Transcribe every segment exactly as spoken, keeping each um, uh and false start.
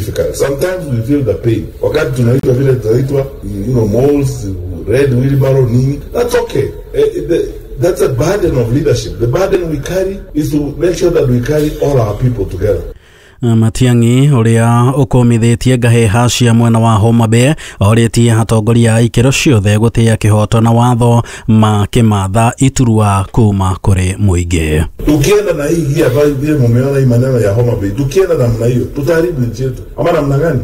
difficult. Sometimes we feel the pain. Wakati tunaitwa vile tunaitwa, you know, moles, red wheelbarrow, nini, that's okay. Eh, the, that's a burden of leadership. The burden we carry is to make sure that we carry all our people together. Matiang'i ũrĩa ũkũmithĩtie ngahĩha cia mwena wa Homa Bay orĩtie atongoria a ikĩro ciothe gũtĩa kĩhoto na watho makĩmatha iturwa kuma kũrĩ mũingĩ. Tukienda na hii gia ambayo vile mumeona hii maneno ya Homa Bay, tukienda namna hiyo tutaharibu nchi yetu, ama namna gani?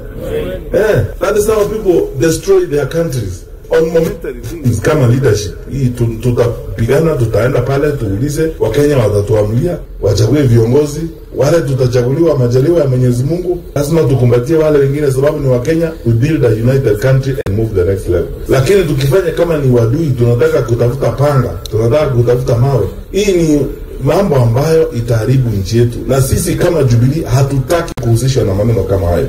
Eh, that is how people destroy their countries on momentary things kama leadership hii. Tutapigana, tutaenda pale tuulize, Wakenya watatuamulia, wachague viongozi wale tutachaguliwa, majaliwa ya Mwenyezi Mungu. Lazima tukumbatie wale wengine, sababu ni Wakenya. We build a united country and move the next level. Lakini tukifanya kama ni wadui, tunataka kutafuta panga, tunataka kutafuta mawe, hii ni mambo ambayo itaharibu nchi yetu, na sisi kama Jubilee hatutaki kuhusishwa na maneno kama hayo.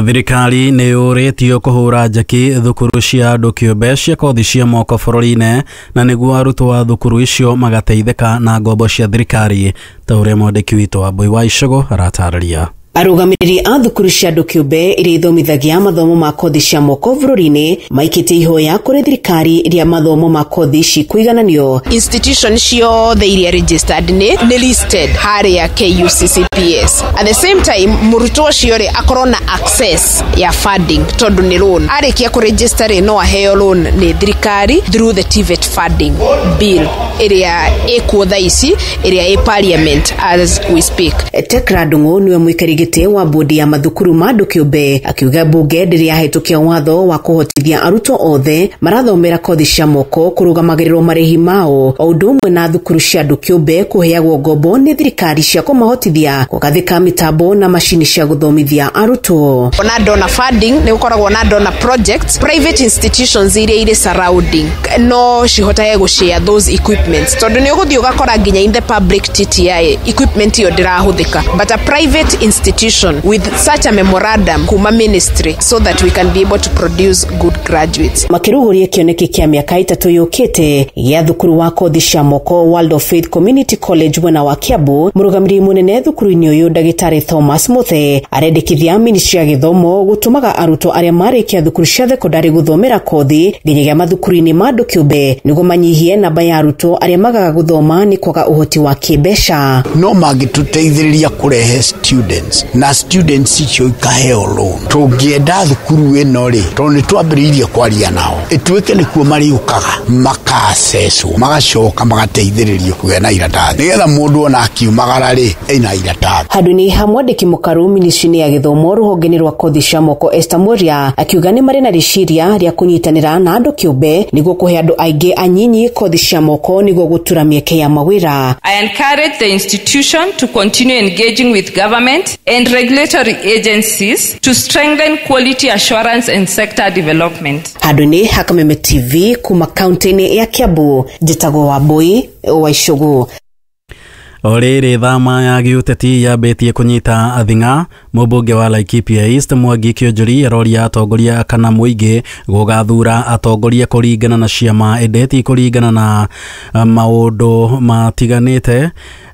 Thirikari nĩ yũrĩtio kũhũra njeki thukuru cia andũ kĩũmbe cia kothi cia moko bũrũri-inĩ na nĩguo arutwo a thukuru icio magateithĩka na ngombo cia thirikari, ta ũrĩa mwandĩki witũ Wambui wa Icũgũ aratarĩria. Arũgamĩrĩri a thukuru cia andũ kĩũmbe iria ithomithagia mathomo ma kothi cia moko bũrũri-inĩ maikĩtie ihoya kũrĩ thirikari rĩa mathomo ma kothi ici kũigananio. Institution ciothe iria registered nĩ nĩ listed harĩa K U C C P S. At the same time, mũrutwo ũcio rĩ akorwo na access ya funding, tondũ nĩ loan. Arĩkia kũregister rĩ, no aheo loan nĩ thirikari through the T V E T funding bill ĩrĩa ĩkuo thaa ici, ĩrĩa ĩ parliament as we speak. Tekra Ndung'u niwe mũikari gĩtĩ wa bodi ya mathukuru ma andũ kĩũmbe, akiuga mbunge ndĩrĩ yahĩtũkia watho wa kũhotithia arutwo othe marathomera kothi cia moko kũrũgamagĩrĩrwo marĩhi mao, o ũndũ ũmwe na thukuru cia andũ kĩũmbe kũheagwo ngombo nĩ thirikari cia kũmahotithia kũgathĩka mĩtambo na macini cia gũthomithia arutwo. Ona donor funding, nĩ gũkoragwo na donor projects, private institutions iria irĩ surrounding no cihotage gũshare those equipments, tondũ nĩ ũgũthiĩ ũgakora nginya in the public T T I equipment ĩyo ndĩrahũthĩka, but a private institution with such a memorandum kuma ministry so that we can be able to produce good graduates. Makĩrugũria kĩoneki kĩa mĩaka ĩtatũ yũkĩte gĩa thukuru wa kothi cia moko World of Faith Community College mwena wa Kiambu, mũrũgamĩrĩri mũnene thukuru-inĩ ũyũ ndagĩtarĩ Thomas Muthe arendekithia ministry ya gĩthomo gũtũmaga arutwo arĩa marĩkia thukuru cia thekondarĩ gũthomera kothi nginyagia mathukuru-inĩ ma andũ kĩũmbe nĩguo manyihie namba ya arutwo arĩa magaga gũthoma nĩ kwaga ũhoti wa kĩmbeca. No mangĩtũteithĩrĩria kũrehe students na students icio ikaheo loan, tũngĩenda thukuru ĩno rĩ, tondũ nĩ twambĩrĩirie kwaria nao, ĩtuĩke nĩkuo marĩũkaga makacecwo, magacoka magateithĩrĩrio kũgĩa na iratathi, nĩgetha mũndũ ona akiumagara rĩ ena iratathi. Handũ-inĩ ha mwandĩki mũkaru ministry-inĩ ya gĩthomo rũhonge-inĩ rwa kothi cia moko Esther Moria akiuga nĩ marĩ na rĩciria rĩa kũnyitanĩra na andũ kĩũmbe nĩguo kũhe andũ aingĩ anyinyi kothi cia moko nĩguo gũtura mĩeke ya mawĩra. I encourage the institution to continue engaging with government and regulatory agencies to strengthen quality assurance and sector development. Handũ-inĩ ha Kameme T V kuma kaunti-inĩ ya Kiambu, njĩtagwo Wambui wa Icũgũ. O rĩrĩ thama ya gĩũteti yambĩtie kũnyita athing'a, mũmbunge wa Laikipia East Mwangi Kĩonjori aroria atongoria kana mũingĩ gũgathura atongoria kũringana na ciama ĩndĩ ti kũringana na maũndũ matiganĩte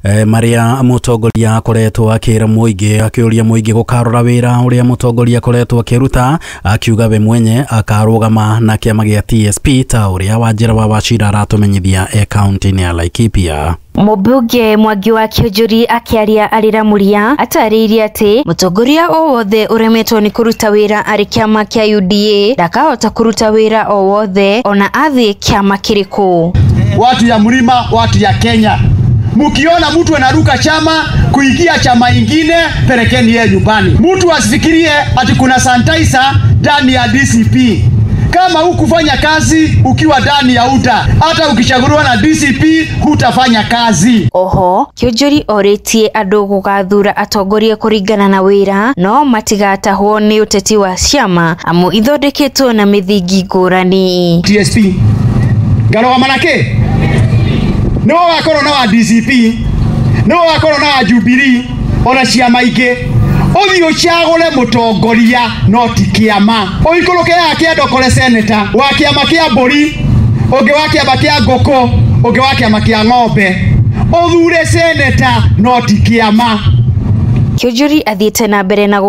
marĩa mũtongoria akoretwo akĩra mũingĩ, akĩũria mũingĩ gũkarora wĩra ũrĩa mũtongoria akoretwo akĩruta, akiuga we mwenye akarũgama na kĩama gĩa T S P, ta ũrĩa Wanjĩra wa Wachira aratũmenyithia e kaunti-inĩ ya Laikipia. Mũmbunge Mwangi wa Kĩonjori akĩaria arĩ Ramuria atarĩirie atĩ mũtongoria o wothe ũremetwo nĩ kũruta wĩra arĩ kĩama kĩa U D A ndakahota kũruta wĩra o wothe ona athiĩ kĩama kĩrĩkũ. Watu ya mlima, watu ya Kenya, mukiona mtu anaruka chama kuingia chama ingine, pelekeni yeye nyumbani. Mtu asifikirie ati kuna sanitizer ndani ya D C P. Kama hukufanya kazi ukiwa ndani ya U D A, hata ukichaguliwa na D C P hutafanya kazi. Oho Kĩonjori orĩtie andũ gũgathura atongoria kũringana na wĩra no matigatahwo nĩ ũteti wa ciama amu ithondeketwo na mĩthingi ngũrani. T S P ngarũgama na kĩ? Nĩwe wakorwo na wa D C P, nĩwe wakorwo na wa Jubilee, ona ciama ingĩ. Ũthiĩ ũcagũre mũtongoria no ti kĩama. Ũikũrũke haha kĩanda ũkore seneta wa kĩama kĩa mbũri, ũngĩ wa kĩama kĩa ngũkũ, ũngĩ wa kĩama kĩa ng'ombe. Ũthure seneta no ti kĩama. Kĩonjori athiĩte na mbere na